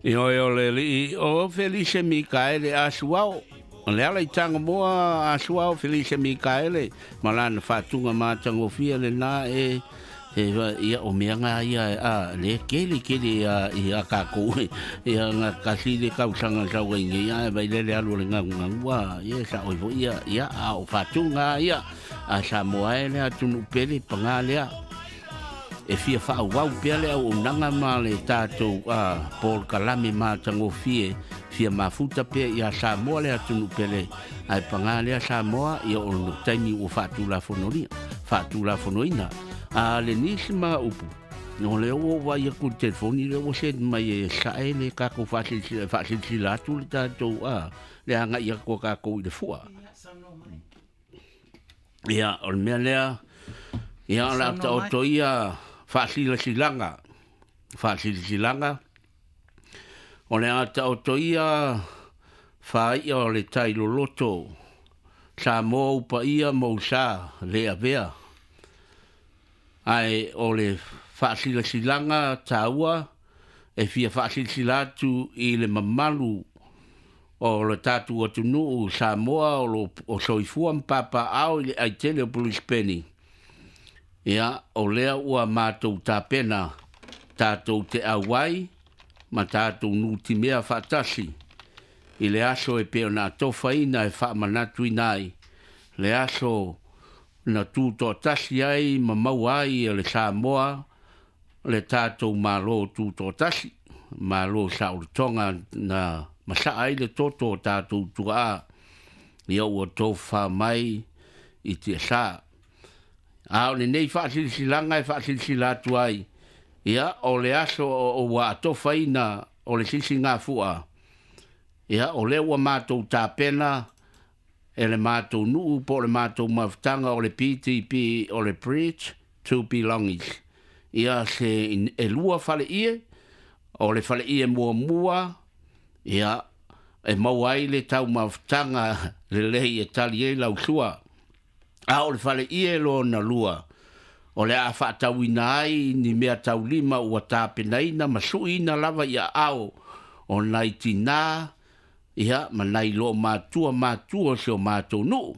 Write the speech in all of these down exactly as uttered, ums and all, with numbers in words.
Ioe o le alii o Felise Mikaele Asuao. O le ala i Tagamoa Asuao Felise Mikaele ma lana faatuga matagofie lena e e ia o mea ngā ia a le kele kele ia ia kākou ia ngā kasi le kausaga sau ai nei ia vai lele alu o le gagugagu ia sa oi foi ia ia a o faatuga ia a Samoa e le atunuu pele pagā lea e fia faauau pea le auaunaga ma le tatou a polokalame matagofie fia mafuta pea ia Samoa le atunuu pele ae pagā lea Samoa ia o le taimi ua faatulafonolia faatulafonoina a le nisi ma upu o le ua vai aku i le telefoni le ua send mai e sae le kākou faasilasila faasilasila atu le tatou a le agai atu a kākou i le fua. Ia o le mea lea ia o le a taoto ia faasilasilaga faasilasilaga o le a taoto ia faai'a o le tai loloto Samoa upaia ma usa le avea ae o le faasilasilaga taua e fia faasilasila atu i le mamalu o le tatou atunuu Samoa o lo o soifua ma papaao i le aitele o Pulisipeni. Ia o lea ua matou tapena tatou te auai ma tatou nutimea faatasi i le aso e pei ona atofaina e faamanatuina ai le aso na tutoatasi ai ma maua ai e le Samoa le tatou Malo tutoatasi, Malo saolotoga na masaa ai le toto o tatou tuaa ia ua tofa mai i tiasa. A o lenei faasilasilaga e faasilasila atu ai ia o le aso o ua atofaina o le sisigafua ia o lea ua matou tapena e le matou nuu po o le matou mafutaga o le P T P o le Bridge to Belongings. Ia se e lua faleie o le faleie muamua ia e maua ai le taumafutaga lelei e tali ai lau sua. A o le faleie lona lua o le a faatauina ai ni mea taulima ua tapenaina ma suiina lava ia ao o nai tinā ia ma nai loo matua matua o si o matou nuu.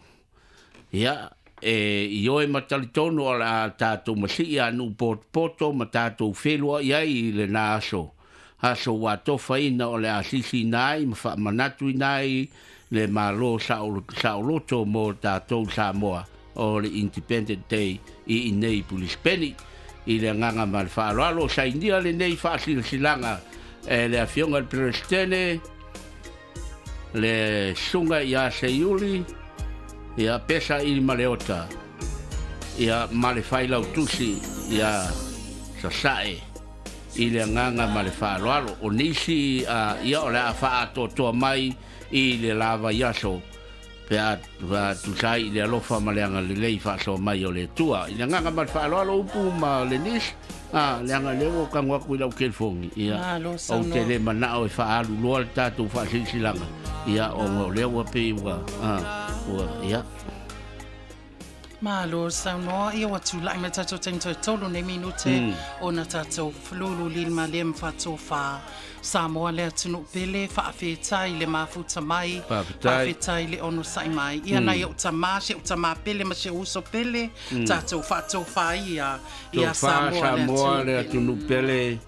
Ia e ioe ma talitonu o le a tatou masii a nuu potopoto ma tatou feluai ai i lena aso. Aso ua atofaina o le a sisiina ai ma faamanatuina ai le Malo saoloto mo tatou Samoa o le Independent Day i inei Pulisipeni. I le agaga ma le faaaloalo sainia lenei faasilasilaga e le afioga i le Peresetene le susuga ia Seiuli ia Pesa ili Maleota ia ma le failautusi ia Sasae i le agaga ma le faaaloalo. O nisi uh, ia o le a faaatoatoa mai i le lava i aso pe a tusa ai i le alofa ma le agalelei faasoa mai o le Atua. I le agaga ma le faaaloalo upu ma le nisi a le aga lea ua kago atu i lau telefoni ia ou te le manao e faaalu loa le tatou faasilasilaga ia ona o lea ua pei ua ua ia Malo saunoa ia ua tula'i mai tatou taimi toe tolu nei minute ona tatou fululu lima le ma faatofā Samoa le atunuu pele faafetai le mafuta mai faafetai le onosa'i mai ia nai o'u tamā si o'u tamā pele ma si o'u uso pele tatou faatofā ia ia Samoa le atunuu pele.